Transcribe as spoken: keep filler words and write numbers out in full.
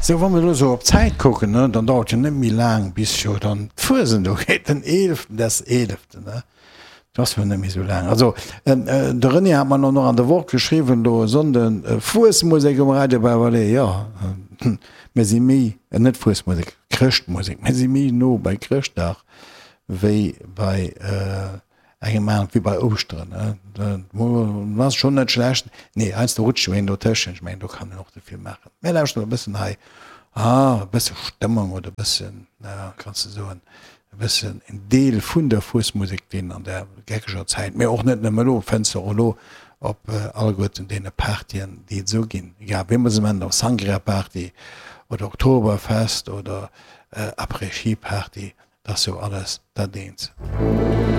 Sou, wa mer elo sou op d'Zäit kucken, ne, dann dauert jo net méi laang, bis jo dann d'Fuesent ugeet, den eeleften des eeleften, ne. Dat ass jo net méi sou laang. Also, de René hat mer elo nach an der Woch geschriwwen, do e Sonnden, Fuesmusek um Radio Baverlee, jo, mir si méi, net Fuesmusek, Chrëschtmusek, mir si méi no bei Chrëschtdag wéi bei engem aneren, wéi bei Ouschteren, ne. Dat ass schonn net schlecht. Nee, heiansdo rutscht jo een dotëschent, ech mengen, do kann een och ze vill maachen. Mir lauschteren e bëssen hei, ah, e bësse Stëmmung oder e bëssen, na, kanns de soen, e bëssen en Deel vun der Fuesmusek, deen an der geckeger Zäit, mee och net nëmme elo, fënns de och elo op alleguerten deene Partyen, déi et esou ginn, egal wéi mer se nennen, ob Sangria-Party oder Oktoberfest oder Après-Ski-Party, dat ass jo alles dat eent.